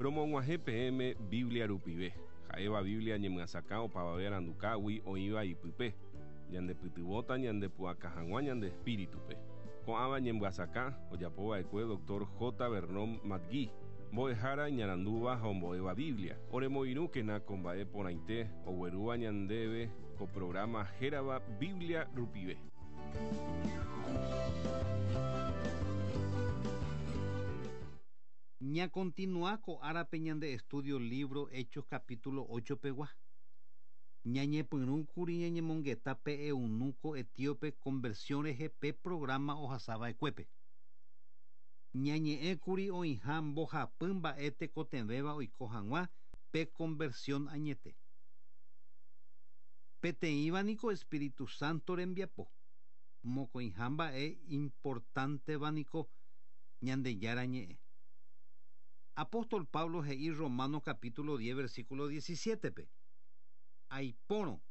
Romog̃uahẽ peẽme Biblia rupive, ha'éva Biblia ñemyasakã opavave arandukágui oĩva ipype, ñandepytyvõta ñandepu'aka hag̃ua ñande espíritupe. Ko'ãva ñemyasakã ojapova'ekue Dr. J. Vernon McGee, mbo'ehára iñarandúva ha ombo'éva Biblia. Oremoirũkena ko mba'e porãite oguerúva ñandéve ko programa hérava Biblia rupive. Ñakontinua ko árape ñande estudio libro Hechos capítulo 8 pegua. Ñañepyrũkuri ñañemongeta pe eunuco etíope conversión rehe pe programa ohasava'ekuépe. Ñañe'ẽkuri oĩha mbohapy mba'e tekotevẽva oiko hag̃ua pe conversión añete. Peteĩva niko Espíritu Santo rembiapo. Mokõiha mba'e importanteva niko Ñandejára ñe'ẽ. Apóstol Pablo he'i Romanos capítulo 10 versículo 17-pe. Aipórõ,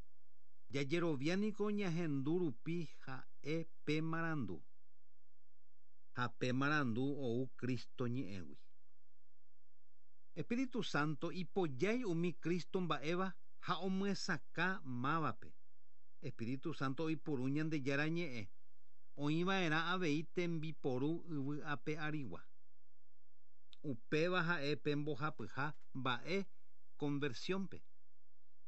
jajerovia niko ñahendu rupi ha'e pe marandu. Ha pe marandu ou Cristo ñe'ẽgui. Espíritu Santo ipojái umi Cristo mba'éva ha omyesakã mávape. Espíritu Santo oipuru Ñandejára ñe'ẽ, oĩva'erã avei tembiporu yvy ape arigua. Upéva ha'e pe mbohapyha mba'e conversión-pe.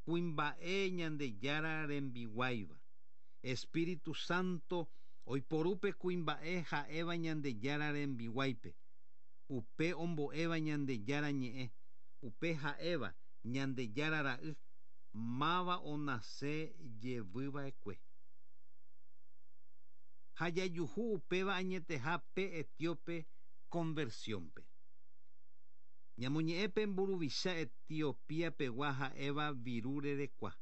Kuimba'e Ñandejára rembiguáiva. Espíritu Santo oiporu pe kuimba'e ha'éva Ñandejára rembiguáipe, upe ombo'éva Ñandejára ñe'ẽ, upe ha'éva Ñandejára ra'y, máva onase jevyva'ekue. Ha jajuhu upéva añeteha pe etíope conversión-pe. Ñamoñe'ẽ pe mburuvicha Etiopía pegua ha'éva viru rerekua.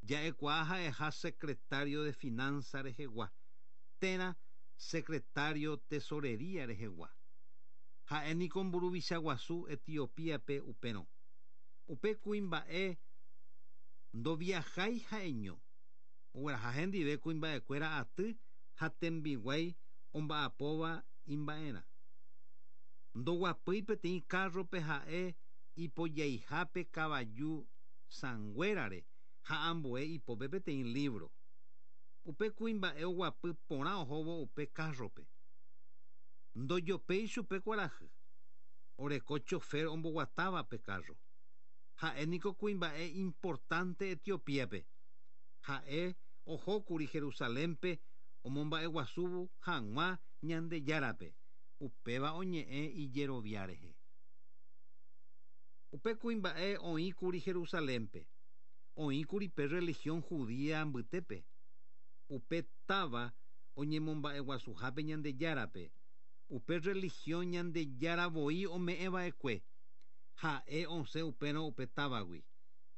Ja'ekuaa ha'eha secretario de finanza rehegua, térã secretario tesorería rehegua. Ha'e niko mburuvicha guasu Etiopía-pe upérõ. Upe kuimba'e ndoviajái ha'eño. Ogueraha hendive kuimba'ekuéra aty ha tembiguái omba'apóva imba'erã. Ndoguapýi peteĩ kárrope ha'e ipojaihápe kavaju sãnguérare ha ambue ipópe peteĩ lívro. Upe kuimba'e oguapy porã ohóvo upe kárrope. Ndojopéi chupe kuarahy. Oreko chofer omboguatáva pe kárro. Ha'e niko kuimba'e importante Etiopía-pe. Ha'e ohókuri Jerusalén-pe omomba'eguasúvo hag̃ua Ñandejárape, upéva oñe'ẽ ijerovia rehe. Upe kuimba'e oĩkuri Jerusalén-pe, oĩkuri pe religión judía mbytépe, upe táva oñemomba'eguasuhápe Ñandejárape, upe religión Ñandejára voi ome'ẽva'ekue, ha'e osẽ upérõ upe távagui,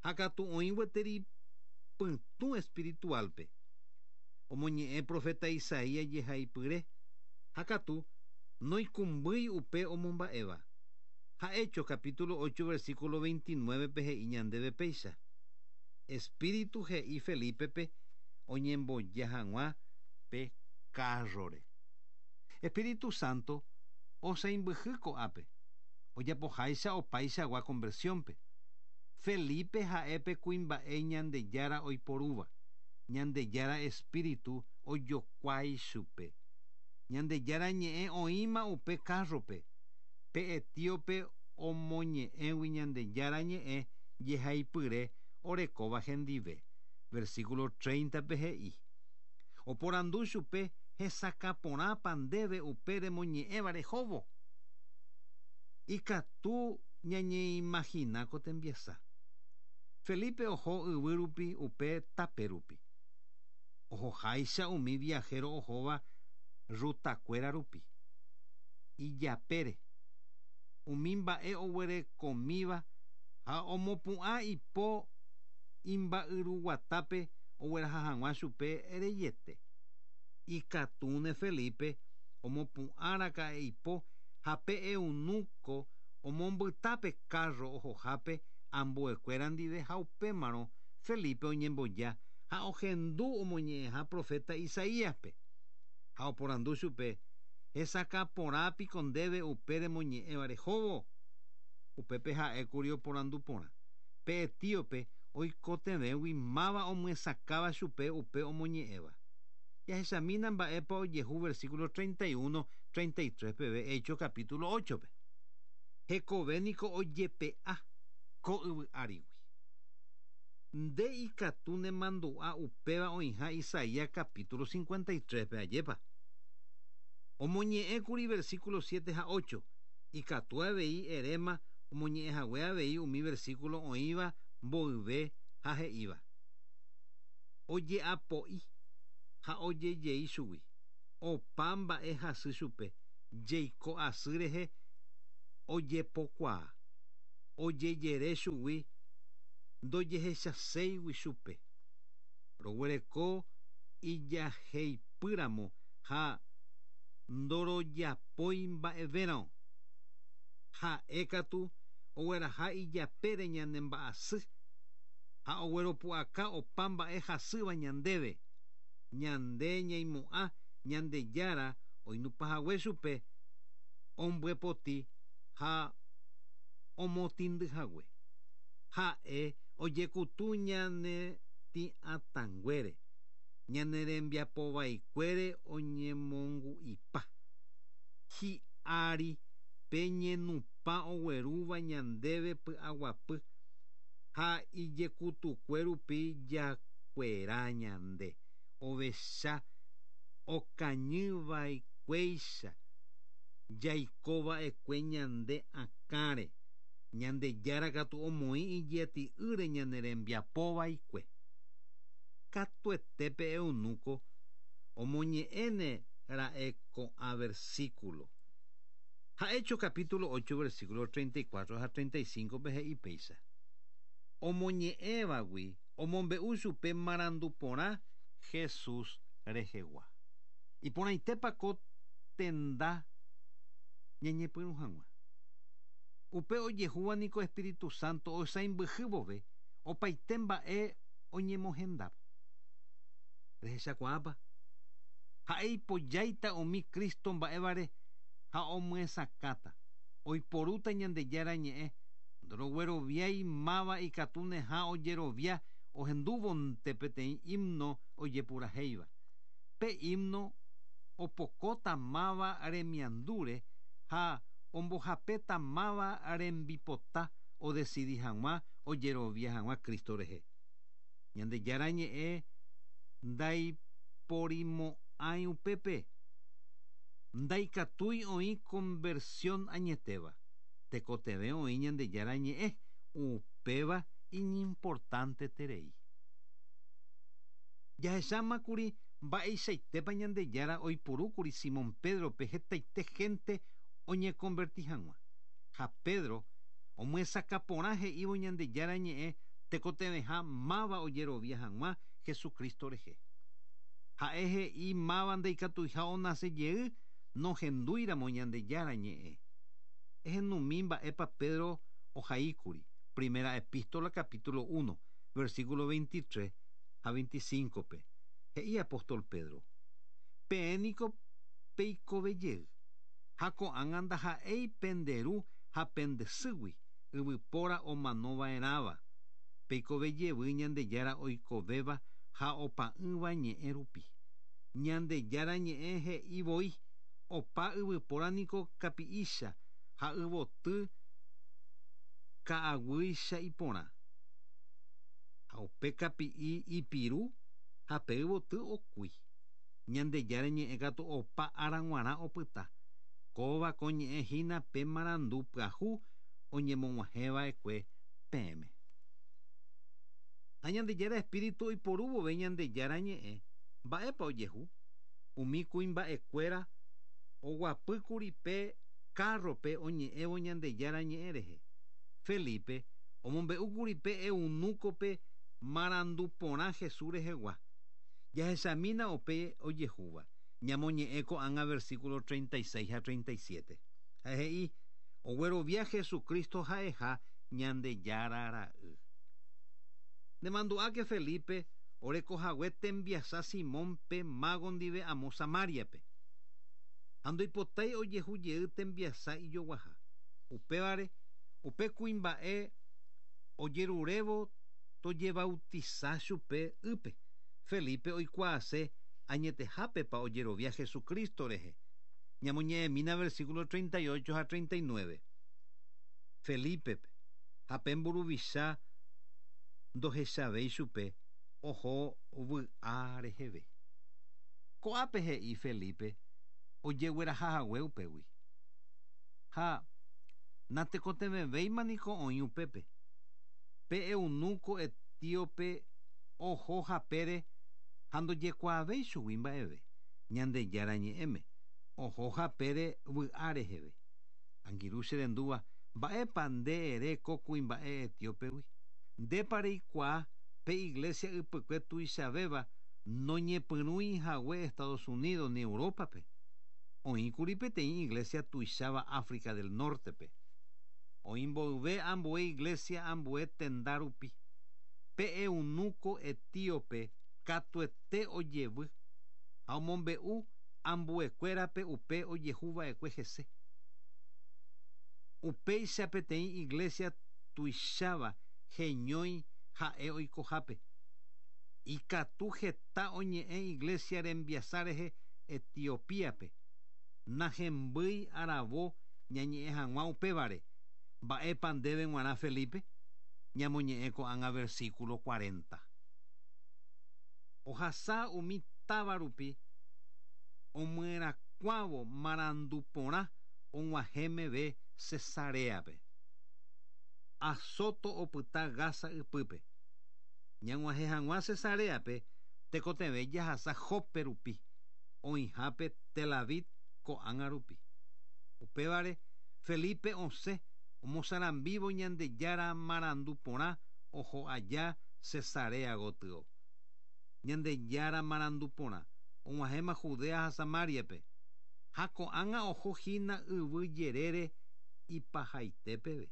ha katu oĩ gueteri pytũ espiritual-pe. Omoñe'ẽ profeta Isaías jehaipyre, ha katu noikũmbýi upe omomba'éva. Ha Hechos capítulo 8 versículo 29-pe he'i ñandéve péicha: Espíritu he'i Felipe-pe oñemboja hag̃ua pe kárrore. Espíritu Santo osãimbyhy ko'ápe, ojapoháicha opaichagua conversión-pe. Felipe ha'e pe kuimba'e Ñandejára oiporúva, Ñandejára Espíritu ojokuái chupe. Ñandejára ñe'ẽ oĩma upe kárrope, pe etíope omoñe'ẽgui Ñandejára ñe'ẽ jehaipyre orekóva hendive. Versículo 30-pe he'i: Oporandu chupe hesakã porãpa ndéve upe remoñe'ẽva rehóvo. Ikatu ñañeimagina ko tembiasa. Felipe oho yvy rupi upe tape rupi. Ohoháicha umi viajero ohóva rutakuéra rupi. Ijapére. Umi mba'e oguerekomíva ha omopu'ã ipo imba'yruguatápe ogueraha hag̃ua chupe reiete. Ikatúne Felipe omopu'ãraka'e ipo ha pe eunuco omombyta pe kárro ohohápe ambuekuéra ndive ha upémarõ Felipe oñemboja ha ohendu omoñe'ẽha profeta Isaíaspe. Ha oporandu chupe: Hesakã porã piko ndéve upe remoñe'ẽva rehóvo? Upépe ha'ékuri oporandu porã. Pe etíope oikotevẽgui máva omyesakãva chupe upe omoñe'ẽva. Jahechamína mba'épa ojehu versículo 31, 33 peve Hechos capítulo 8-pe. Hekove niko ojepe'a ko yvy árigui. Nde ikatu nemandu'a upéva oĩha Isaías capítulo 53-pe, ajépa? Omoñe'ẽkuri versículo 7 ha 8, ikatu avei eréma omoñe'ẽhague avei umi versículo oĩva mboyve ha he'íva. Oje'apo'i ha ojejei chugui, opa mba'e hasy chupe, jeiko asy rehe ojepokuaa, ojejere chugui ndojehechaséigui chupe. Roguereko ijaheipýramo ha ndorojapói mba'evérõ. Ha'e katu ogueraha ijapére ñane mba'asy ha ogueropu'aka opa mba'e hasýva ñandéve. Ñande ñaimo'ã Ñandejára oinupãhague chupe ombyepoti ha omotĩndyhague. Ha'e ojekutu ñane tĩ'atãnguére, ñane rembiapovaikuére oñemongu'ipa. Hi'ári pe ñenupã oguerúva ñandéve py'aguapy ha ijekutukue rupi jakuera ñande ovecha okañyva'ekuéicha jaikova'ekue ñande akãre, Ñandejára katu omoĩ ijeti'ýre ñane rembiapovaikue. Katuete pe eunuco omoñe'ẽne ra'e ko'ã versículo. Ha Hechos capítulo 8 versículo 34 ha 35-pe he'i péicha, Omoñe'ẽvagui omombe'u chupe marandu porã Jesús rehegua. Iporãitépa ko tenda ñañepyrũ hag̃ua. Upe ojehúva niko Espíritu Santo oisãimbyhy vove opaite mba'e oñemohendáva. Rehechakuaápa? Ha'e ipojáita umi Cristo mba'évare ha omyesakãta, oiporúta Ñandejára Ñe'ẽ, ndorogueroviái máva ikatuneha ojerovia ohendúvonte peteĩ himno ojepurahéiva. Pe himno opokóta máva remiandúre ha ombohapéta máva rembipota odesidi hag̃ua ojerovia hag̃ua Cristo rehe. Ñandejára Ñe'ẽ ndaiporimo'ãi upépe. Ndaikatúi oĩ conversión añetéva. Tekotevẽ oĩ Ñandejára Ñe'ẽ, upéva iñimportanteterei. Jahechámakuri mba'eichaitépa Ñandejára oipurúkuri Simón Pédrope hetaite hénte oñekonverti hag̃ua. Ha Pedro omyesakã porã he'ívo Ñandejára Ñe'ẽ tekotevẽha máva ojerovia hag̃ua Jesucristo rehe. Ha'e he'i máva ndaikatuiha onase jey nohendúiramo Ñandejára Ñe'ẽ. Ehendumi mba'épa Pedro ohaíkuri, Primera Epístola capítulo uno, versículo 23 ha 25-pe. He'i apóstol Pedro, Peẽ niko peikove jey, ha ko'ág̃a ndaha'éi pende ru ha pende sýgui yvypóra omano va'erãva, peikove jevy Ñandejára oikovéva ha opa'ỹva ñe'ẽ rupi. Ñandejára ñe'ẽ he'i voi, Opa yvypóra niko kapi'ícha ha yvoty ka'aguýicha iporã. Ha upe kapi'i ipiru ha pe yvoty okúi. Ñandejára ñe'ẽ katu opa ára g̃uarã opyta. Kóva ko ñe'ẽ hína pe marandu pyahu oñemog̃uahẽ va'ekue peẽme. Ha Ñandejára espíritu oiporu vove Ñandejára ñe'ẽ, mba'épa ojehu? Umi kuimba'ekuéra oguapýkuri pe kárrope oñe'ẽvo Ñandejára ñe'ẽ rehe. Felipe omombe'úkuri pe eunúkope marandu porã Jesús rehegua. Jahechamína upe ojehúva, ñamoñe'ẽ ko'ág̃a versículo 36 ha 37. Ha he'i, Oguerovia Jesucristo ha'eha Ñandejára Ra'y. Nemandu'áke Felipe orekohague tembiasa Simón pe mago ndive amo Samáriape. Ha ndoipotái ojehu jey tembiasa ijoguaha. Upévare, Upe kuimba'e ojerurévo tojebautiza chupe ýpe. Felipe oikuaase añetehápepa ojerovia Jesucristo rehe. Ñamoñe'ẽmína versículo 38 ha 39. Felipe ha pe mburuvicha ndohechavéi chupe oho vy'a reheve. Ko'ápe he'i Felipe ojegueraha hague upégui. Ha natekotevẽvéima niko oĩ upépe. Pe eunuco etíope oho hapére ha ndojekuaavéi chugui mba'eve. Ñandejára ñe'ẽme oho hapére vy'a reheve. Angirũ che rendúva mba'épa nde ere ko kuimba'e etíopegui. Ndépa reikuaa pe iglesia ypykue tuichavéva noñepyrũi hague Estados Unidos ni Európape. Oĩkuri peteĩ iglesia tuicháva África del Nortepe. Oĩ mboyve ambue iglesia ambue tenda rupi. Pe eunuco etíope katuete ojevy ha omombe'u ambuekuérape upe ojehuva'ekue hese. Upéicha peteĩ iglesia tuicháva heñói ha'e oikohápe. Ikatu heta oñe'ẽ iglesia rembiasa rehe Etiopíape. Nahembýi aravo ñañe'ẽ hag̃ua upévare. Mba'épa ndéve g̃uarã Felipe? Ñamoñe'ẽ ko'ág̃a versículo 40. Ohasa umi táva rupi omyerakuãvo marandu porã og̃uahẽ meve Cesareape. Azoto opyta Gaza ypýpe. Ñag̃uahẽ hag̃ua Cesareape tekotevẽ jahasa Jope rupi, oĩhápe Tel Aviv ko'ág̃a rupi. Upévare Felipe osẽ omosarambívo Ñandejára marandu porã oho aja Cesarea gotyo. Ñandejára marandu porã og̃uahẽma Judea ha Samariape. Ha ko'ág̃a oho hína yvy jerére ipahaite peve.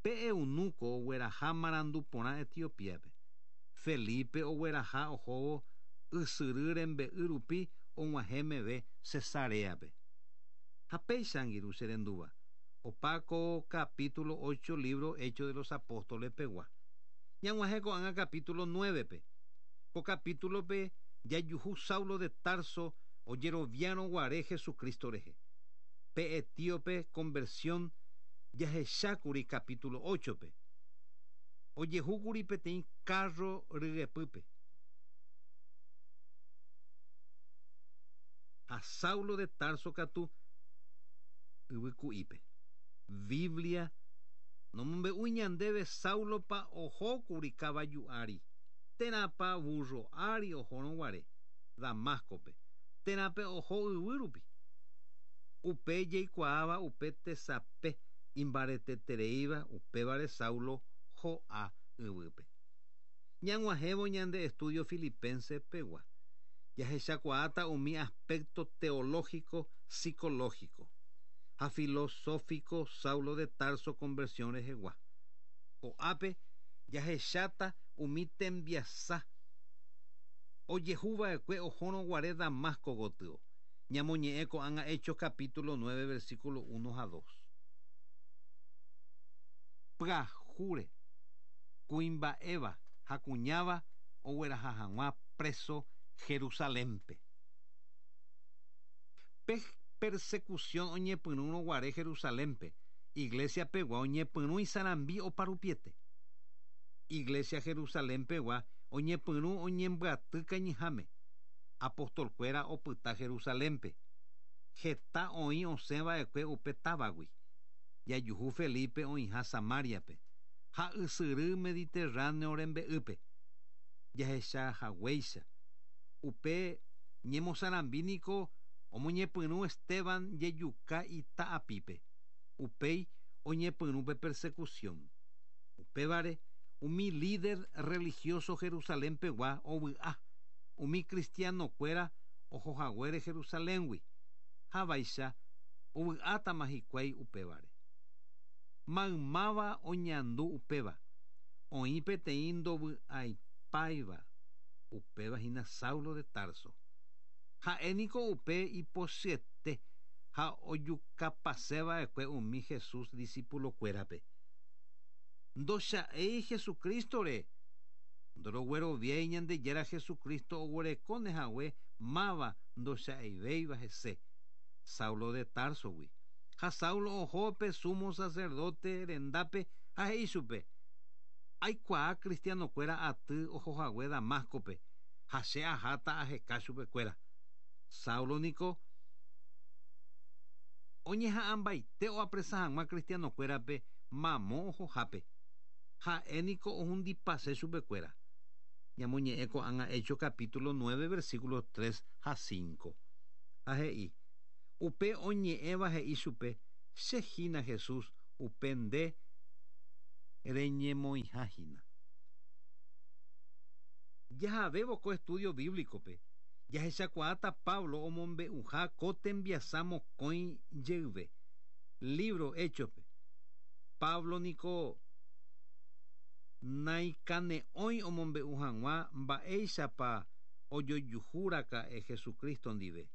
Pe eunuco ogueraha marandu porã Etiopiape. Felipe ogueraha ohóvo ysyry rembe'y rupi og̃uahẽ meve Cesareape. Ha péicha angirũ che rendúva. Opa ko capítulo 8 libro Hechos de los Apóstoles pegua. Ñag̃uahẽ ko'ág̃a capítulo 9-pe. Ko capítulope jajuhu Saulo de Tarso ojeroviárõ guare Jesucristo rehe. Pe etíope conversión jahechákuri capítulo 8-pe. Ojehúkuri peteĩ carro ryepýpe. Ha Saulo de Tarso katu yvyku'ípe. Biblia nomombe'úi ñandéve Saulopa ohókuri kavaju ári, térãpa burro ári ohórõ guare Damascope, térãpe oho yvy rupi. Upe jaikuaáva upe tesape imbaretetereíva upévare Saulo ho'a yvýpe. Ñag̃uahẽvo ñande estudio filipense pegua. Jahechakuaáta umi aspecto teológico, psicológico ha filosófico Saulo de Tarso conversión rehegua. Ko'ápe jahecháta umi tembiasa ojehuva'ekue ohórõ guare Damasco gotyo. Ñamoñe'ẽ ko'ág̃a Hechos capítulo 9 versículo 1 ha 2. Pyahúre kuimba'éva ha kuñáva ogueraha hag̃ua preso Jerusalénpe. Pe persecución oñepyrũrõ guare Jerusalénpe, iglesia pegua oñepyrũ isarambi oparupiete. Iglesia Jerusalén pegua oñepyrũ oñembyaty kañyháme. Apostolkuéra opyta Jerusalénpe. Heta oĩ osẽva'ekue upe távagui. Jajuhu Felipe oĩha Samariape ha ysyry Mediterráneo rembe'ýpe. Jahechahaguéicha. Upe ñemosarambi niko omoñepyrũ Esteban jejuka ita'apípe. Upéi oñepyrũ pe persecución. Upévare umi líder religioso Jerusalén pegua ovy'a. Umi cristianokuéra ohohaguére Jerusaléngui. Ha vaicha ovy'átama hikuái upévare. Maymáva oñandu upéva. Oĩ peteĩ ndovy'aipáiva upéva hína Saulo de Tarso. Ha'e niko upe ipochyete. Ha ojukapaseva'ekue umi Jesús discipulokuérape. Ndocha'éi Jesucristo-re. Ndorogueroviái Ñandejára Jesucristo oguerekóne hague máva ndocha'eivéiva hese, Saulo de Tarso-gui. Ha Saulo oho pe sumo sacerdote rendápe ha he'i chupe, Aikuaa cristiano-kuéra aty ohohague Damasco-pe, ha che aháta aheka chupekuéra. Saulo niko oñeha'ãmbaite oapresa hag̃ua cristiano-kuérape mamo ohohápe. Ha'e niko ohundipase chupekuéra. Ñamoñe'ẽ ko'ág̃a Hechos capítulo 9 versículos 3 ha 5. Ha he'i, Upe oñe'ẽva he'i chupe, Che hína Jesús, upe nde reñemoĩha hína. Jahavévo ko estudio bíblico-pe, jahechakuaáta Pablo omombe'uha ko tembiasa mokõi jeyve, lívro Héchospe. Pablo niko naikane'õi omombe'u hag̃ua mba'éichapa ojojuhuraka'e Jesucristo ndive.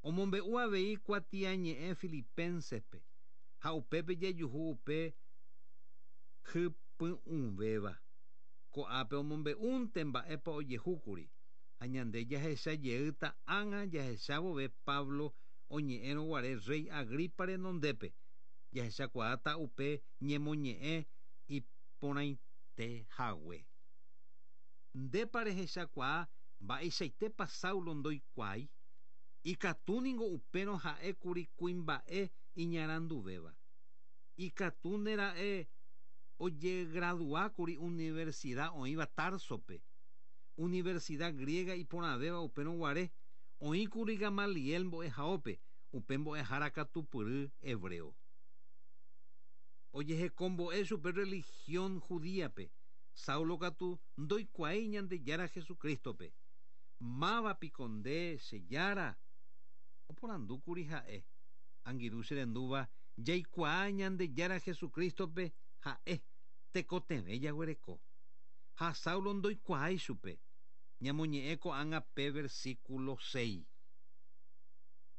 Omombe'u avei kuatiañe'ẽ Filipenses-pe, ha upépe jajuhu upe hypy'ũvéva. Ko'ápe omombe'únte mba'épa ojehúkuri, ha ñande jahecha jeýta ág̃a jahecha vove Pablo oñe'ẽrõ guare rréi Agripa renondépe, jahechakuaáta upe ñemoñe'ẽ iporãite hague. Ndépa rehechakuaa mba'eichaitépa Saulo ndoikuaái? Ikatu ningo upérõ ha'ékuri kuimba'e iñaranduvéva. Ikatúne ra'e ojegraduákuri universida oĩva Társope, universida griega iporãvéva upérõ guare, oĩkuri Gamaliel mbo'ehaópe, upe mbo'ehára katupyry hebreo. Ojehekombo'e chupe religión judíape, Saulo katu ndoikuaái Ñandejára Jesucrístope. Máva piko nde, che Jára? Oporandúkuri ha'e. Angirũ che rendúva, jaikuaa Ñandejára Jesucrístope ha'e, tekotevẽ jaguereko. Ha Saulo ndoikuaái chupe. Ñamoñe'ẽ ko'ág̃a pe versículo seis.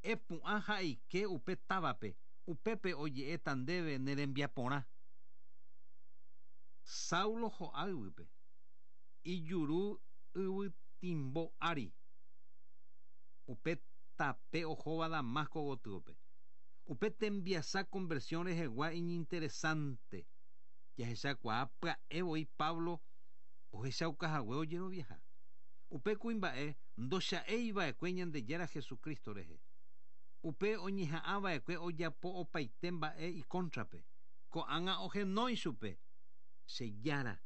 Epu'ã ha eike upe távape, upépe oje'éta ndéve ne rembiaporã. Saulo ho'a yvýpe, ijuru yvytimbo ári, upe tape ohóva Damasco gotyope. Upe tembiasa conversión rehegua iñinteresante. Jahechakuaa pya'e voi Pablo ohechaukahague ojeroviaha. Upe kuimba'e ndocha'éi va'ekue Ñandejára Jesucristo rehe. Upe oñeha'ã va'ekue ojapo opaite mba'e ikóntrape. Ko'ág̃a ohenói chupe, Che Jára.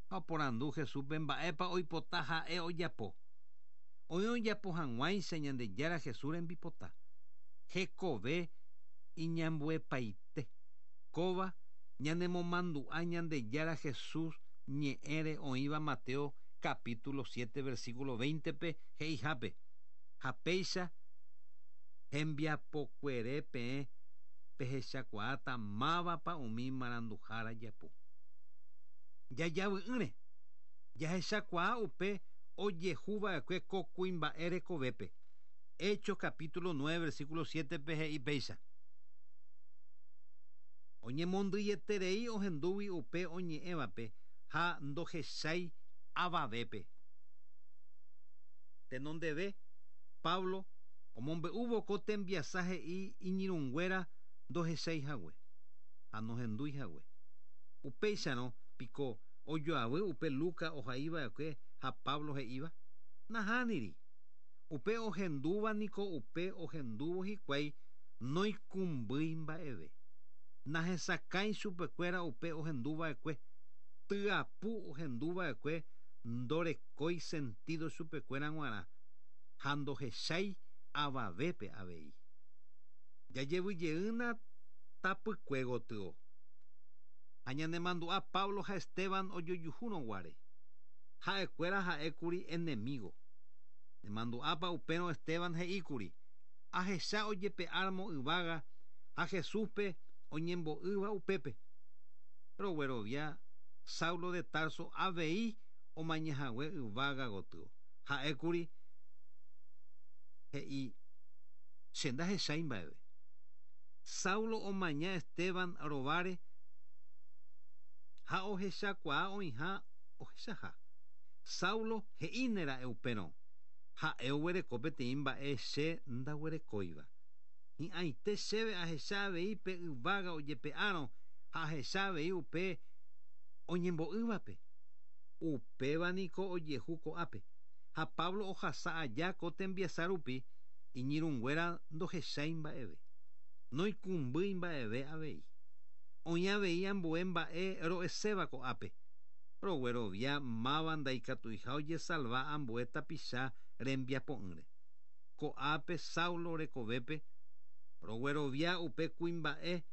Ha oporandu Jesúspe mba'épa oipota ha'e ojapo. Oĩ ojapo hag̃uáicha Ñandejára Jesús rembipota. Hekove iñambuepaite. Kóva ñanemomandu'a Ñandejára Jesús ñe'ẽre oĩva Mateo capítulo 7 versículo 20-pe he'ihápe, Ha péicha hembiapokuere peẽ pehechakuaáta mávapa umi maranduhára japu. Jajavy'ỹre, jahechakuaa upe ojehu va'ekue ko kuimba'e rekovépe. Hechos capítulo 9 versículo 7-pe he'i péicha. Oñemondyieterei ohendúgui upe oñe'ẽvape ha ndohechái avavépe. Tenondeve, Pablo omombe'úvo ko tembiasa he'i iñirũnguéra ndohechái hague ha nohendúi hague. Upéicharõ piko ojoavy upe Lucas ohaiva'ekue ha Pablo he'íva? Nahániri. Upe ohendúva niko upe ohendúvo hikuái noikũmbýi mba'eve. Nahesakãi chupekuéra upe ohenduva'ekue, tyapu ohenduva'ekue ndorekói sentido chupekuéra g̃uarã ha ndohechái avavépe avei. Jajevyjeýna tapykue gotyo. Ha ñanemandu'a Pablo ha Esteban ojojuhúrõ guare. Ha'ekuéra ha'ékuri enemigo. Nemandu'ápa upérõ Esteban he'íkuri, Ahecha ojepe'áramo yvága ha Jesúspe oñembo'ýva upépe. Roguerovia Saulo de Tarso avei omañahague yvága gotyo. Ha'ékuri he'i. Che ndahechái mba'eve. Saulo omaña Esteban rováre ha ohechakuaa oĩha ohechaha. Saulo he'ínera'e upérõ, Ha'e oguereko peteĩ mba'e che ndaguerekóiva. Hi'ãite chéve ahecha avei pe yvága ojepe'árõ ha ahecha avei upe oñembo'ývape. Upéva niko ojehu ko'ápe. Ha Pablo ohasa aja ko tembiasa rupi, iñirũnguéra ndohechái mba'eve. Noikũmbýi mba'eve avei. Oĩ avei ambue mba'e ro'eséva ko'ápe. Roguerovia máva ndaikatuiha ojesalva ambue tapicha rembiapo'ỹre. Ko'ápe Saulo rekovépe, roguerovia upe kuimba'e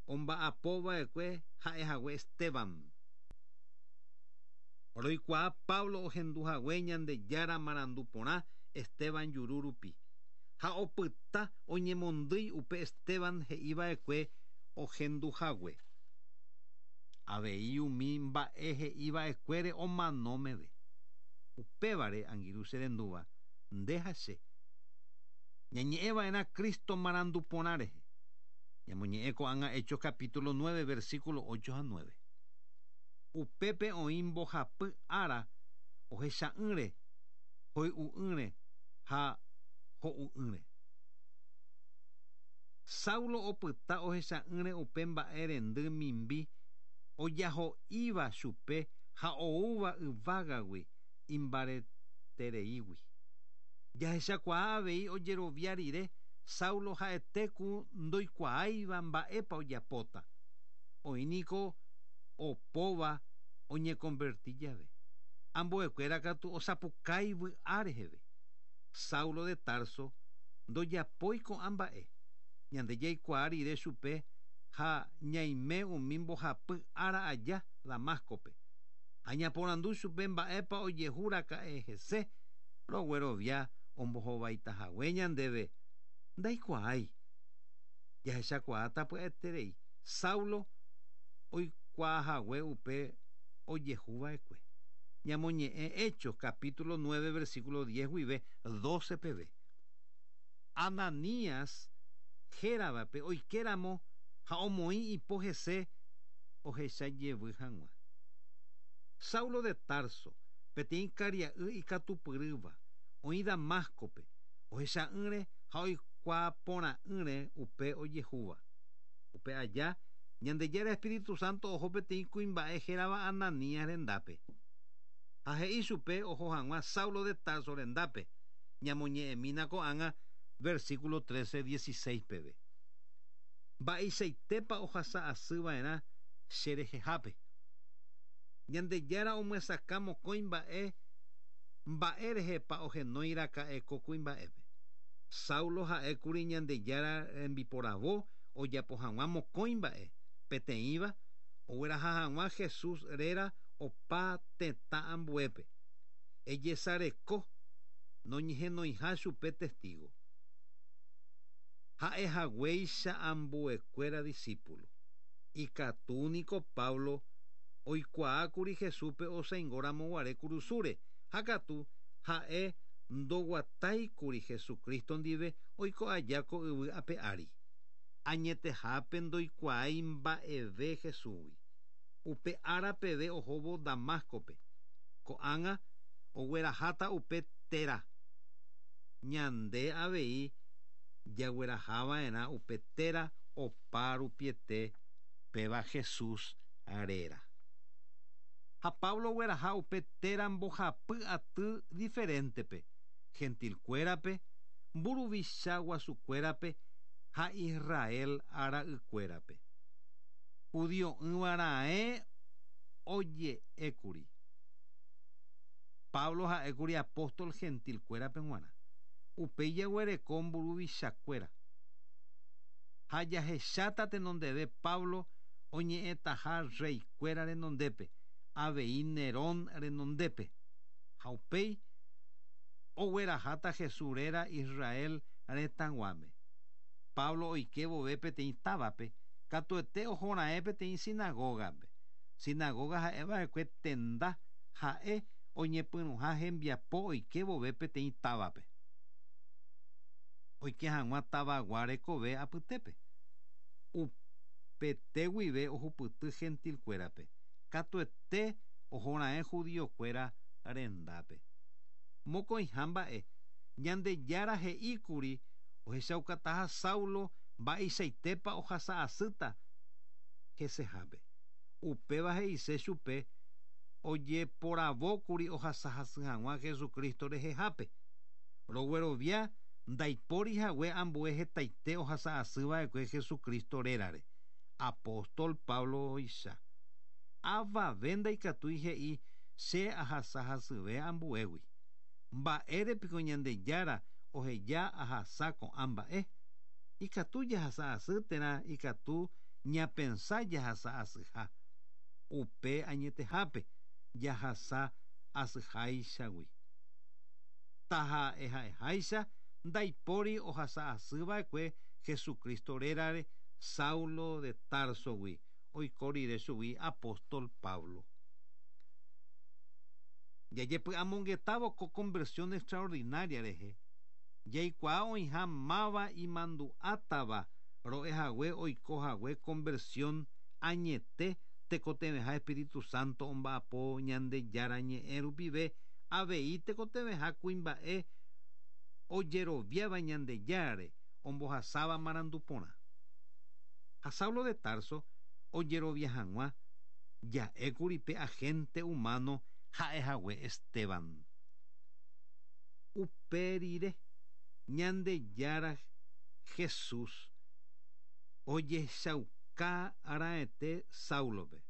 omba'apo va'ekue ha'ehague Esteban. Roikuaa Pablo ohendu hague Ñandejára marandu porã Esteban juru rupi, ha opyta oñemondýi upe Esteban he'i va'ekue ohendu hague. Avei umi mba'e he'i va'ekuére omano meve. Upévare, angirũ che rendúva, nde ha che, ñañe'ẽ va'erã Cristo marandu porã rehe. Ñamoñe'ẽ ko'ág̃a Hechos capítulo 9, versículo 8 ha 9. Upépe oĩ mbohapy ára ohecha'ỹre, hoy'u'ỹre ha ho'u'ỹre. Saulo opyta ohecha'ỹre upe mba'e rendy mimbi ojaho'íva chupe ha oúva yvágagui imbaretereígui. Jahechakuaa avei ojerovia rire Saulo ha'ete ku ndoikuaáiva mba'épa ojapóta. Oĩ niko opóva oñekonverti jave. Ambuekuéra katu osapukái vy'a reheve. Saulo de Tarso ndojapói ko'ã mba'e. Ñande jaikuaa rire chupe ha ñaime umi mbohapy ára aja Damáscope. Ha ñaporandu chupe mba'épa ojehu raka'e hese, roguerovia ombohovaitahague ñandéve, Ndaikuaái. Jahechakuaáta pya'eterei Saulo oikuaahague upe ojehu va'ekue. Ñamoñe'ẽ Hechos capítulo 9 versículo 10 guive 12 peve. Ananías héravape oike ramo ha omoĩ ipo hese ohecha jevy hag̃ua. Saulo de Tarso, peteĩ karia'y ikatupyrýva, oĩ Damáscope, ohecha'ỹre ha oikuaa porã'ỹre upe ojehúva. Upe aja, Ñandejára Espíritu Santo oho peteĩ kuimba'e hérava Ananías rendápe. Ha he'i chupe oho hag̃ua Saulo de Tarso rendápe, ñamoñe'ẽmína ko'ág̃a versículo 13, 16 peve. Mba'eichaitépa ohasa asy va'erã che rehehápe? Ñandejára omyesakã mokõi mba'e mba'e rehepa ohenói raka'e ko kuimba'épe. Saulo ha'e kuri Ñandejára rembiporavo ojapo hag̃ua mokõi mba'e, peteĩva, ogueraha hag̃ua Jesús réra opa tetã ambuépe. Ejesareko noñehenoiha chupe testígo. Ha'e haguéicha ambuekuéra disípulo. Ikatu niko Pablo oikuaákuri Jesúspe osãingo ramo guare kurusúre, ha katu ha'e ndoguatáikuri Jesucristo ndive oiko aja ko yvy ape ári. Añetehápe ndoikuaái mba'eve Jesúsgui. Upe ára peve ohóvo Damáscope. Ko'ág̃a ogueraháta upe téra. Ñande avei jaguerahava'erã upe téra opa rupiete péva Jesús réra. Ha Pablo ogueraha upe téra mbohapy aty diferentepe, gentilkuérape, mburuvicha guasukuérape ha Israel ara'ykuérape. Judio'ỹva raẽ oje'ékuri. Pablo ha'ékuri apóstol gentilkuérape g̃uarã. Upéi jaguereko mburuvichakuéra. Ha jahecháta tenondeve Pablo oñe'ẽtaha rreikuéra renondépe, avei Nerón renondépe. Ha upéi ogueraháta Jesús réra Israel retãguáme. Pablo oike vove peteĩ távape, katuete ohoraẽ peteĩ sinagógape. Sinagóga ha'eva'ekue tenda ha'e oñepyrũha hembiapo oike vove peteĩ távape. Oike hag̃ua tavagua rekove apytépe. Upete guive ohupyty gentil-kuérape, katuete ohora'ẽ judío-kuéra rendápe. Mokõiha mba'e, Ñandejára he'íkuri ohechaukataha Saulo mba'eichaitépa ohasa asýta hesehápe. Upéva he'ise chupe ojeporavókuri ohasa hasy hag̃ua Jesucristo rehehápe. Roguerovia ndaipóri hague ambue hetaite ohasa asy va'ekue Jesucristo rérare, apóstol Pablo-icha. Avave ndaikatúi he'i che ahasa hasyve ambuégui. Mba'ére piko Ñandejára oheja ahasa ko'ã mba'e? Ikatu jahasa asy térã ikatu ñapensa jahasa asyha. Upe añetehápe jahasa asyháichagui. Taha'eha'eháicha ndaipóri ohasa asy va'ekue Jesucristo rérare Saulo de Társogui oiko rire chugui apóstol Pablo. Jajepy'amongetávo ko conversión extraordinaria rehe, jaikuaa oĩha máva imandu'átava ro'e hague oiko hague conversión añete tekotevẽha Espíritu Santo omba'apo Ñandejára ñe'ẽ rupive avei tekotevẽha kuimba'e ojeroviáva Ñandejárare ombohasáva marandu porã. Ha Saulo de Tarso ojerovia hag̃ua, ja'ékuri pe agente humano ha'ehague Esteban. Upe rire, Ñandejára Jesús ojehechauka raẽte Sáulope.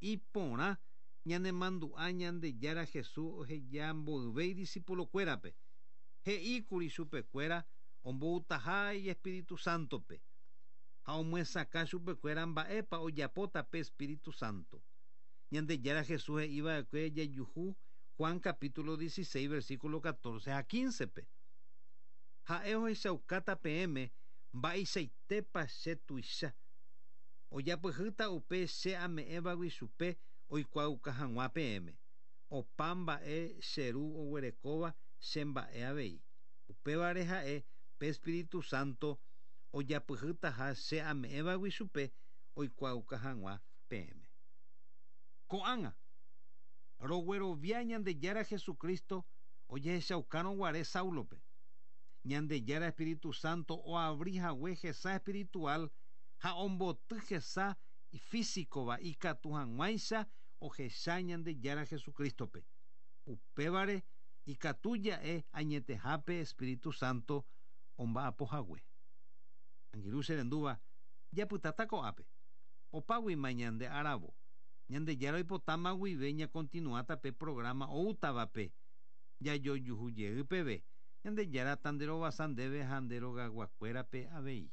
Iporã ñanemandu'a Ñandejára Jesús oheja mboyve idisipulokuérape, he'íkuri chupekuéra omboutaha ijespíritu sántope, ha omyesakã chupekuéra mba'épa ojapóta pe espíritu sánto. Ñandejára Jesús he'i va'ekue jajuhu Juan capítulo 16 versículo 14 ha 15-pe. Ha'e ohechaukáta peẽme mba'eichaitépa che tuicha. Ojapyhýta upe che ame'ẽvagui chupe oikuaauka hag̃ua peẽme. Opa mba'e che Ru oguerekóva che mba'e avei. Upévare ha'e pe Espíritu Santo ojapyhýtaha che ame'ẽvagui chupe oikuaauka hag̃ua peẽme. Ko'ág̃a, roguerovia Ñandejára Jesucristo ojehechaukárõ guare Sáulope, Ñandejára Espíritu Santo oavri hague hesa espiritual ha omboty hesa ifísikova ikatu hag̃uáicha ohecha Ñandejára Jesucristo-pe. Upévare ikatu ja'e añetehápe Espíritu Santo omba'apo hague. Angirũ che rendúva, japytáta ko'ápe. Opáguima ñande aravo. Ñandejára oipotáma guive ñakontinuáta pe programa oútavape jajojuhu jey peve. Ñandejára tanderovasa ndéve ha nde rogaguakuérape avei.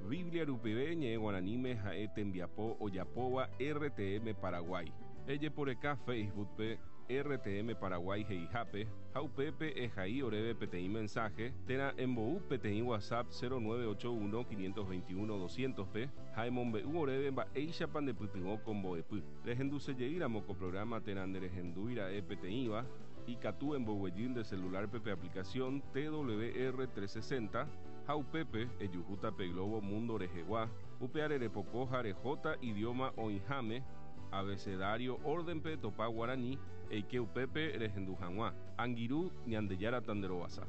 Biblia rupive ñe'ẽ guaraníme ha'e tembiapo ojapóva RTM Paraguay. Ejeporeka Facebook-pe RTM Paraguay he'ihápe ha upépe ehai oréve peteĩ mensaje térã embou peteĩ WhatsApp 0981 521 200-pe ha emombe'u oréve mba'éichapa ndepytyvõ ko mbo'epy. Rehendusejeýramo ko programa térã nderehendúira'e peteĩva, ikatu emboguejy nde celular-pe pe aplicación TWR 360 ha upépe ejuhúta pe globo mundo rehegua, upeare repoko ha rehóta idioma oĩháme, abecedario orden-pe etopa guarani, eike upépe rehendu hag̃ua. Angirũ, Ñandejára tanderovasa.